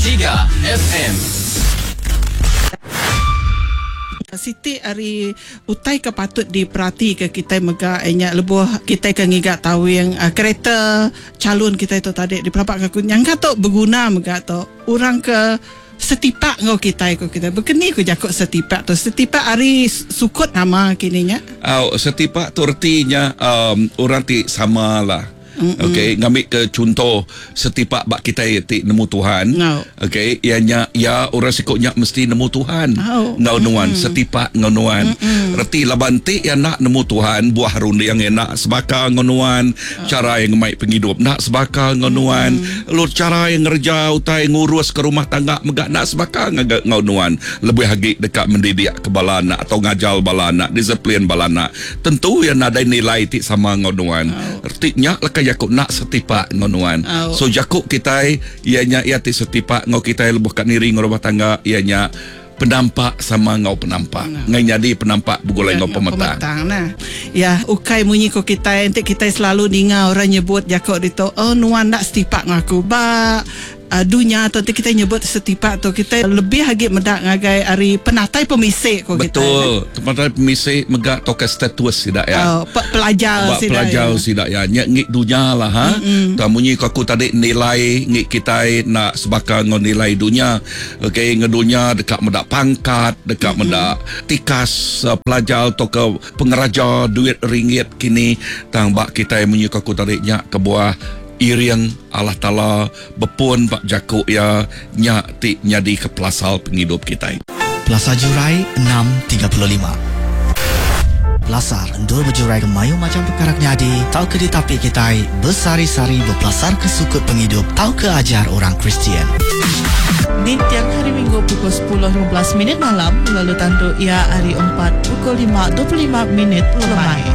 tiga FM. Siti ari utai ke patut diperatika kitai mega iya nya lebuh kitai ke ngiga tawing kereta chalun kitai tu tadi dipelabaka aku nyangka tu beguna mega tu orang ke setipak enggau kitai ku kitai. Bekeni ku jaku setipak tu? Setipak ari sukut nama kini nya? Au, setipak tu reti nya orang ti sama lah. Okey, ngambika chunto setipak ba kitai ti nemu Tuhan. Okey, iya nya iya orang siku nya mesti nemu Tuhan enggau nuan, setipak enggau nuan. Reti laban enti iya enda nemu Tuhan, buah runding iya enda sebaka enggau nuan, chara iya ngemai pengidup enda sebaka enggau nuan, lalu chara iya ngereja utai nguruska rumah tangga mega enda sebaka enggau nuan. Lebih agi deka mendidikka bala anak atau ngajar bala anak, disiplin bala anak. Tentu iya nadai nilai ti sama enggau nuan. Reti nya leka jaku enda setipak enggau nuan. So jaku kitai iya nya iya ti setipak enggau kitai lebuh ka niri enggau rumah tangga iya nya penampak sama enggau penampak. Enggai nyadi penampak begulai enggau pemetang. Ya ukai munyi ko kitai enti kitai selalu ninga orang nyebut jaku ditu oh nuan enda setipak enggau aku. Ba Dunya tu enti kitai nyebut setipak tu kitai lebih agi meda ngagai ari penatai pemisi ku kitai. Betul, penatai pemisi mega tauka status sida iya. Oh, pe pelajar Ba sida pelajar iya. sida iya. Nya ngi dunya lah ha. Tang munyi ku aku tadi nilai ngi kitai enda sebaka enggau nilai dunya. Okey enggau dunya deka meda pangkat, deka meda tikas pelajar tauka pengeraja duit ringgit kini. Tang ba kitai munyi ku aku tadi nya kebuah Iring Allah Taala bepun ba jaku Iya nya ti nyadika pelasar pengidup kitai. Pelasar Jurai 6:35. Pelasar endur bejurai ke mayuh macham pekara ke nyadi tauka ditapi kitai besehari-sehari bepelasarka sukut pengidup tauka ajar orang Kristian. Ninting Hari Minggu pukul 10:15 minit malam lalu tandu iya hari Empat pukul 5:25 minit lemai.